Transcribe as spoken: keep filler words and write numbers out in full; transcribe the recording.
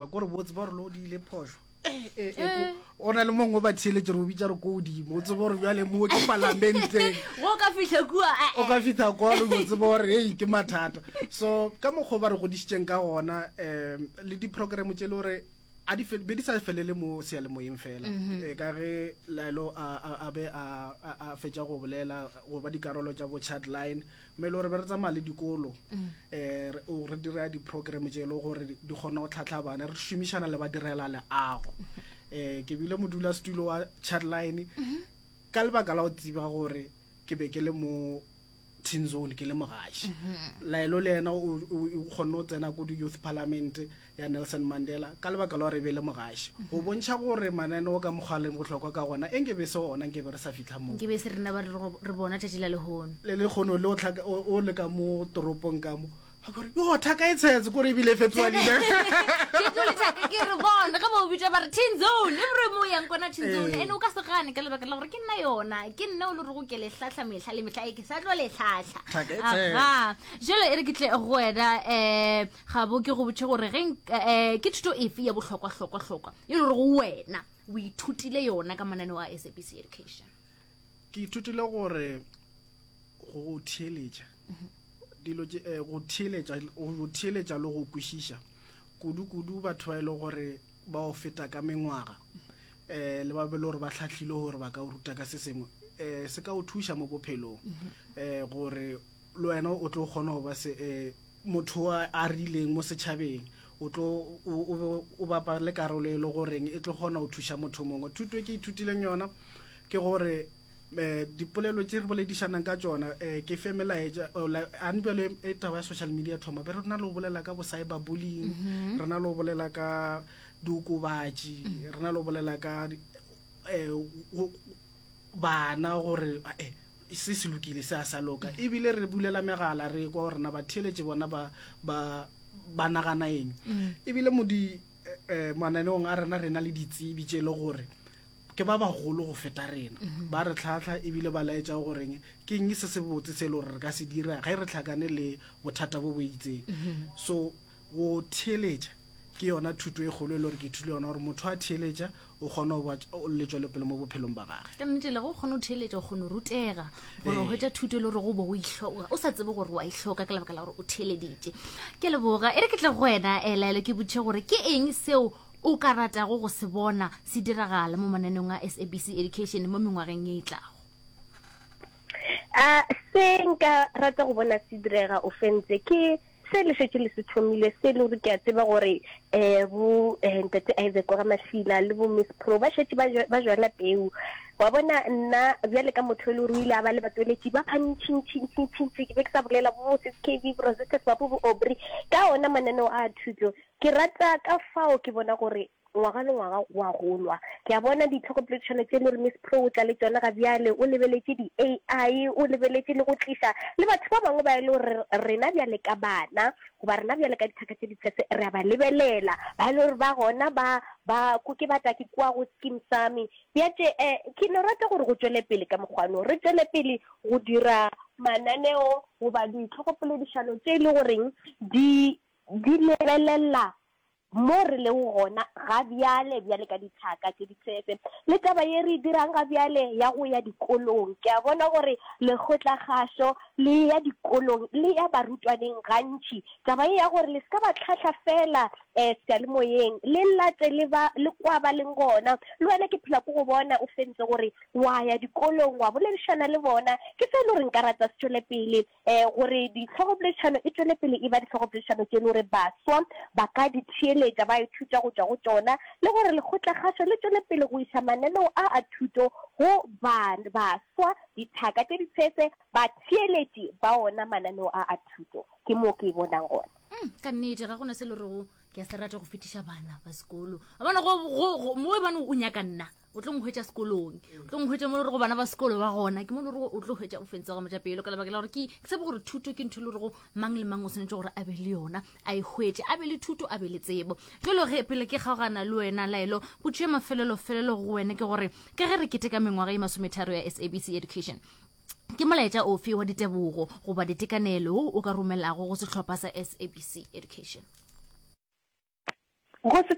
Kore botse ba gore lo diile phošo. Eh, eh, eh, o na le mongwe o ba theeletše re o bitša re ko godimo, o tsebe gore bjale mo ke palamenteng. Go ka fihla kua, o ka fihla kwa o tsebe gore hei ke mathata. So ka mokgwa ba re godišitšeng ka gona, um le di-program tše le gore a di be di sa felele mo seyalemoyeng fela. E ka ge Laelo a a be a a fetša go bolela go ba dikarolo tša bo chat line, mme e le gore be re tsamaya le dikolo, um re dira di-program tše e le gore di kgona go tlhahla bana, re šomišana le ba direla leago. Um ke bile modulasetulo wa chat line ka lebaka la go tseba gore ke be ke le mo Teen Zone ke le mogaši. Laelo le yena o kgonne go tsena ko di-youth parliament ya Nelson Mandela ka lebaka la gore e be le mogaši, go bontšha gore mananeo ka mokgwa leng bohlokwa ka gona. E nke be se ona, nke be re sa fitlha mo nke be se rena ba re bona tšatši la lehono. Le lekgono le o le ka mo toropong ka mo gore yo thaka e tshetse kore ebile e fetoga leina. Ke re bona ge ba o bitša ba re Teen Zone, e bore mo yang kona Teen Zone, ene o ka se gane ka lebaka la gore ke nna yona, ke nna o le rego ke le hlahla mehla le mehla, e ke sa tlo le hlahla. Aga jalo e re ke tle go wena, um gabo ke go botše gore ge um ke thuto efe ya bohlokwa-hlokwa-hlokwa e le gore go wena o ithutile yona ka mananeo a S A B C Education? Ke ithutile gore go theeletša dilo tše, go theeletša, go theeletša le go kwešiša kudu-kudu batho ba e le gore ba o feta ka mengwaga, um le ba be le gore ba hlahlile gore ba ka o ruta ka se sengwe, um se ka o thuša mo bophelong, um gore le wena o tlo kgona go ba se um motho a rileng mo setšhabeng, o tlo o bapa le karolo e le goreng e tlo kgona go thuša motho mongwe. Thuto e ke ithutileng yona ke gore um dipolelo tše re boledišanang ka tšona, um ke fe melaetša ane bjale e taba ya social media thoma be re na le go bolela ka bo cyber bullying, re na le go bolela ka diokobatši, re na le go bolela ka um bana gore se se lokile se a sa loka, ebile re bulela megala re kwa gore na batheeletše bona ba ba ba nagana eng. Ebile mo di mananeong a rena re na le ditsebi tše e le gore ke ba bagolo go feta rena, ba re tlhahla ebile ba laetša goreng ke eng se se botse se e le gore re ka se dira ge re tlhakane le bothata bo bo itseng. So go theeletša ke yona thuto e kgolo e le gore ke ithutile yona, gore motho a theeletša o kgona go ba le tšwelopele mo bophelong ba gagwe. Ka nnete le go kgona go theeletša, o kgona go rutega, o kgona go hwetša thuto e le gore go bo o ihloka, o sa tsebe gore wa ihloka ka lebaka la gore o theeleditše. Ke leboga, e re ke tle go wena Laelo ke botše gore ke eng seo o ka ratago go se bona se diragala mo mananeong a S A B C Education mo mengwageng e tlago? A se nka rata go bona se direga o fentse ke se le šetše le se thomile, se le gore ke a tseba gore um bo ntate Isaac wa Mashila le bo Miss Pro ba šetše ba jwala peu. Wa bona nna bjale ka motho e le gore o ile a ba le batsweletši ba bantšintšintšintšintši, ke be ke sa bolela bo Sis K V, bo Rosetta Swapo, bo Aubrey ka ona mananeo a thuto. Ke rata ka fao ke bona gore ngwaga le ngwaga go a golwa. Ke a bona ditlhokopoledišano tše le gore Miss Pro o tla le tšona ga bjale, o lebeletše di-A I, o lebeletše le go tliša le batho ba bangwe ba e le gore rena bjale ka bana goba rena bjale ka dithaka tše ditshese re a ba lebelela, ba e le gore ba gona ba ba ke batla ke kwa go Skeem Saam. Bjatše um ke no rata gore go tšwele pele ka mokgwano, re tšwele pele go dira mananeo goba ditlhokopoledišano tše e le goreng di di lebelela mo re lego gona ga bjale bjale ka dithaka tše ditshese le taba ye re dirang ga bjale ya go ya dikolong. Ke a bona gore lekgotlakgašo le ya dikolong le ya barutwaneng gantši, taba ye ya gore le se ka ba tlhahla fela um seyalemoyeng, le late le ba le kwa ba leng gona. Le wena ke phela ko go bona o fentse gore wa ya dikolong wa boledišana le bona, ke se e le gore nka rata se tšwele pele, um gore ditlhogopoledišano e tšwele pele e ba ditlhogopoledišano tše le gore baswa ba ka di theeletša, ba ithuta go tšwa go tšona, le gore lekgotlakgašo le tšwele pele go iša mananeo a a thuto go baswa, dithaka tše ditshese, batheeletši ba ona mananeo a a thuto. Ke moo ke e bonang gona. Ka nnete ga gona se le rego ke a se rata go fetiša bana ba sekolo. A bona go mo e bane o nyaka nna, o tlo nhwetša sekolong, o tlo nhwetša mo le gore bana ba sekolo ba gona, ke mo le gore o tlo hwetša o fentse go motšapelo ka lebaka la gore ke tsebe gore thuto ke ntho e le gore mang le mang o swanetše gore a be le yona, a e hwetše, a be le thuto, a be le tsebo. Jalo ge pele ke kgaogana le wena Laelo, potšo ya mafelelo-felelo go wena ke gore ka ge re keteka mengwaga e masometharo ya S A B C Education, ke molaetša ofe wa ditebogo goba ditekanelo o ka romelago go sehlopha sa S A B C Education? Go se